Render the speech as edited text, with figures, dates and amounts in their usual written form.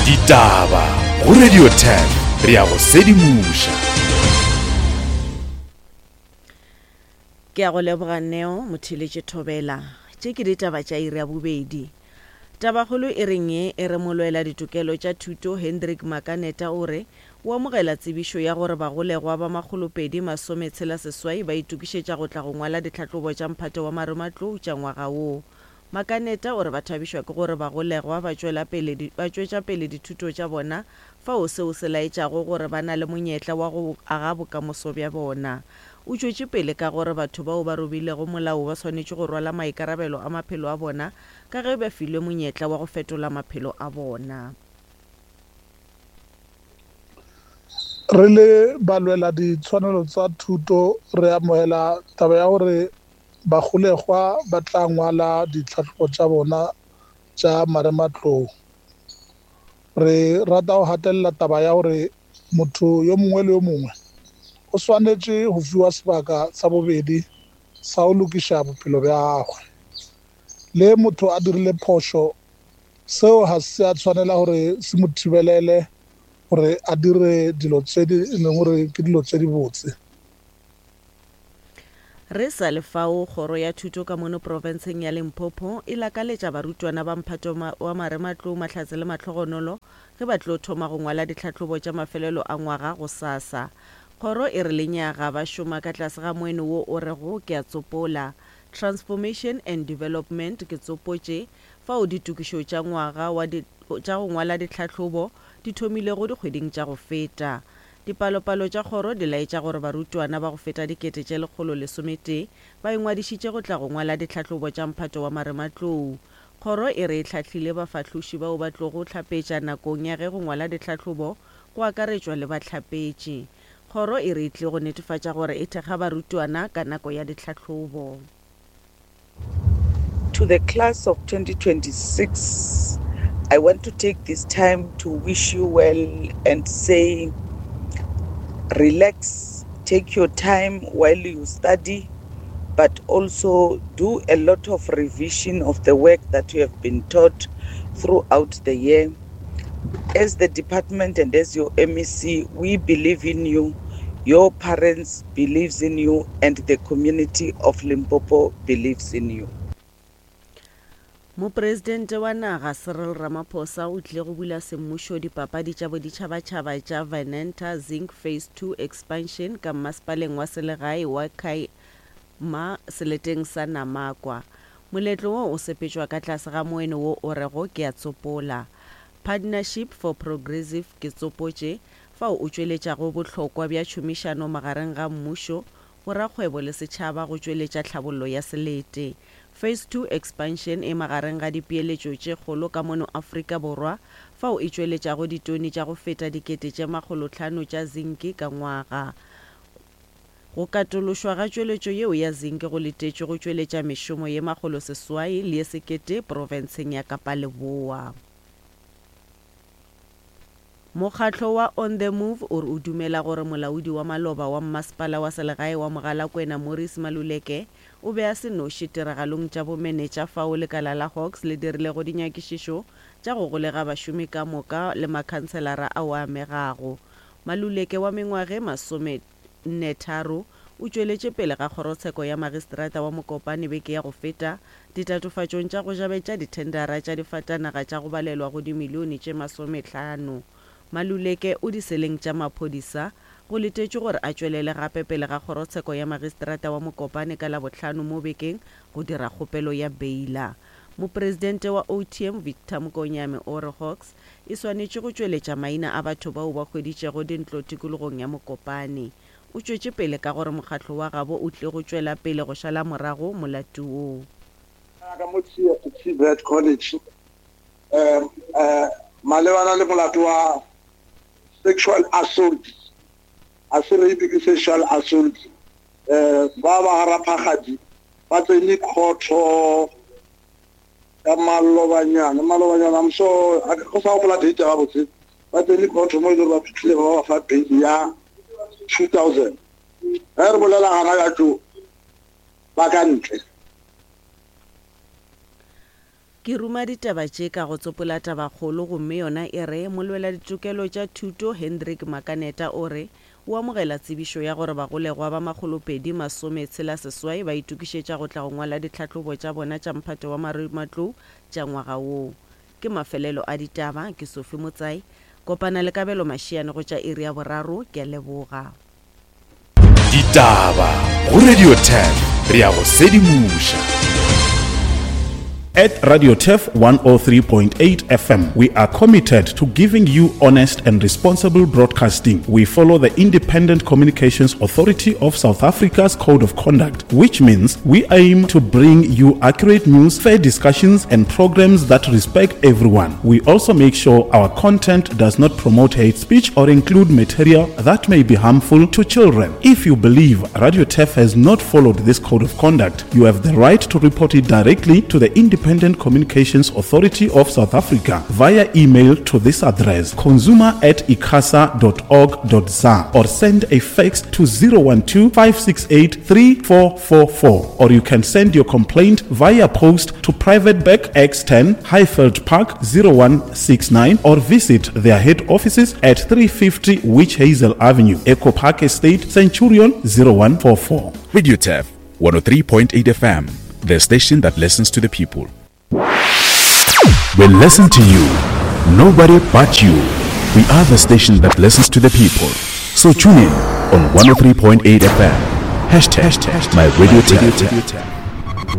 Ditaba go Radio 10 re a go sedimoša. Ke a go leboga Neo Motheeletše Thobela. Tše ke ditaba tša iri ya bobedi. Tabakgolo e reng ye e re molwela ditokelo tša thuto Hendrik Makaneta o re o amogela tsebišo ya gore bagolegwa ba makgolopedi masometshela seswai ba itokišetša go tla go ngwala ditlhahlobo tša mphato wa marematlou tša ngwaga wo. Makaneta o re ba thabišwa ke gore bagolegwa ba tšwela pele ba tšwetša pele dithuto tša bona fao seo se laetšago gore ba na le monyetla wa go aga bokamoso bja bona. O tšwetše pele ka gore batho bao ba robilego molao ba swanetše go rwala maikarabelo a maphelo a bona ka ge ba filwe monyetla wa go fetola maphelo a bona. Re le balweladitshwanelo tsa thuto re amogela taba ya gore Bagolegwa ba tla ngwala ditlhahlobo tša bona tša marematlou. Re rata go gatelela taba ya gore motho yo mongwe le yo mongwe o swanetše go fiwa sebaka sa bobedi sa go lokiša bophelo bja gagwe. Le motho a dirile phošo, seo ga se a tshwanela gore se mo thibelele gore a dire dilo tše e leng gore ke dilo tše dibotse. Re sa le fao, Kgoro ya Thuto ka mono profenseng ya Limpopo e lakaletša barutwana ba mphato wa marematlou mahlatse le mahlogonolo ge ba tlo thoma go ngwala ditlhahlobo tša mafelelo a ngwaga gosasa. Kgoro e re lenyaga ba šoma ka tlase ga moeno wo o rego Ke a Tsopola, Transformation and Development ke tsopotše, fao ditokišo tša ngwaga wa tša go ngwala ditlhahlobo di thomilego dikgweding tša go feta. Dipalopalo tša kgoro di laetša gore barutwana ba go feta 111,000 ba ingwadišitše go tla go ngwala ditlhahlobo tša mphato wa marematlou. Kgoro e re e hlahlile bafahloši bao ba tlogo hlapetša nakong ya ge go ngwala ditlhahlobo go akaretšwa le bahlapetši. Kgoro e re e tlile go netefatša gore e thekga barutwana ka nako ya ditlhahlobo. To the class of 2026, I want to take this time to wish you well and say, relax, take your time while you study, but also do a lot of revision of the work that you have been taught throughout the year. As the department and as your MEC, we believe in you. Your parents believes in you and the community of Limpopo believes in you. Mopresidente wa naga Cyril Ramaphosa o tlile go bula semmušo dipapadi tša boditšhabatšhaba tša Venanta Zinc Phase Two Expansion ka mmasepaleng wa selegae wa Khai Ma seleteng sa Namakwa. Moletlo wo o sepetšwa ka tlase ga moeno wo o rego Ke a Tsopola. Partnership for Progressive Ke Tsopotše, fao o tšweletšago bohlokwa bja tšhomišano magareng ga mmušo, borakgwebo le setšhaba go tšweletša tlhabollo ya selete. Phase Two Expansion e magareng ga dipeeletšo tše kgolo ka mono Afrika Borwa fao e tšweletšago ditone tša go feta 500,000 tša zinki ka ngwaga. Go katološwa ga tšweletšo yeo ya zinki go letetšwe go tšweletša mešomo ye 800 le ye 1000 profenseng ya Kapa Leboa. Mokgatlo wa On The Move o re o dumela gore molaodi wa maloba wa mmasepala wa selegae wa Mogalakwena Morris Maluleke o be a se noši tiragalong tša bomenetša fao lekala la Hawks le dirilego dinyakišišo tša go golega bašomi ka moka le makhanselara ao a amegago. Maluleke wa mengwage 43 o tšweletše pele ga kgorotsheko ya magistrata wa Mokopane beke ya go feta ditatofatšong tša go jabetša dithendara tša difatanaga tša go balelwa go dimilione tše masomehlano. Maluleke o diseleng tša maphodisa. Go letetšwe gore a tšwelele gape pele ga kgorotsheko ya magistrata wa Mokopane ka Labohlano mo bekeng go dira kgopelo ya beila. Mopresidente wa OTM Victor Mokonyame o re Hawks e swanetše go tšweletša maina a batho bao ba hweditšego dintlo tikologong ya Mokopane. O tšwetše pele ka gore mokgatlo wa gabo o tlile go tšwela pele go šala morago molato wo. Ka mo TVET College um malebana le molato wa sexual assault, a se rape ke sexual assault. Um ba ba ga Raphagadi ba tsene khotho ka malobanyana, malobanyana I'm sure a ke sa gopola date gabotse, ba tsene khotho mo e le gore ba fihlile ba ba fa bail ya 2000. Ge re bolela gana ya tšo ba ka ntle. Ke ruma ditaba tše ka go tsopola tabakgolo gomme yona e re, Molweladitokelo tša thuto Hendrik Makaneta o re o amogela tsebišo ya gore bagolegwa ba makgolopedi masometshela seswai ba itokišetša go tla go ngwala ditlhahlobo tša bona tša mphato wa marematlou tša ngwaga wo. Ke mafelelo a ditaba, ke Sophie Motsai. Kopana le Kabelo Mashiane go tša iri ya boraro, ke a leboga. Ditaba go Radio 10 re a go sedimoša. At Radio Turf 103.8 FM, we are committed to giving you honest and responsible broadcasting. We follow the Independent Communications Authority of South Africa's Code of Conduct, which means we aim to bring you accurate news, fair discussions, and programs that respect everyone. We also make sure our content does not promote hate speech or include material that may be harmful to children. If you believe Radio Turf has not followed this code of conduct, you have the right to report it directly to the Independent Communications Authority of South Africa via email to this address consumer at icasa.org.za or send a fax to 012 568 3444 or you can send your complaint via post to Private Bank X10 Highveld Park 0169 or visit their head offices at 350 Witch Hazel Avenue, Echo Park Estate, Centurion 0144. Radio Turf 103.8 FM, the station that listens to the people. We listen to you, nobody but you. We are the station that listens to the people. So tune in on 103.8 FM. Hashtag my radio tap.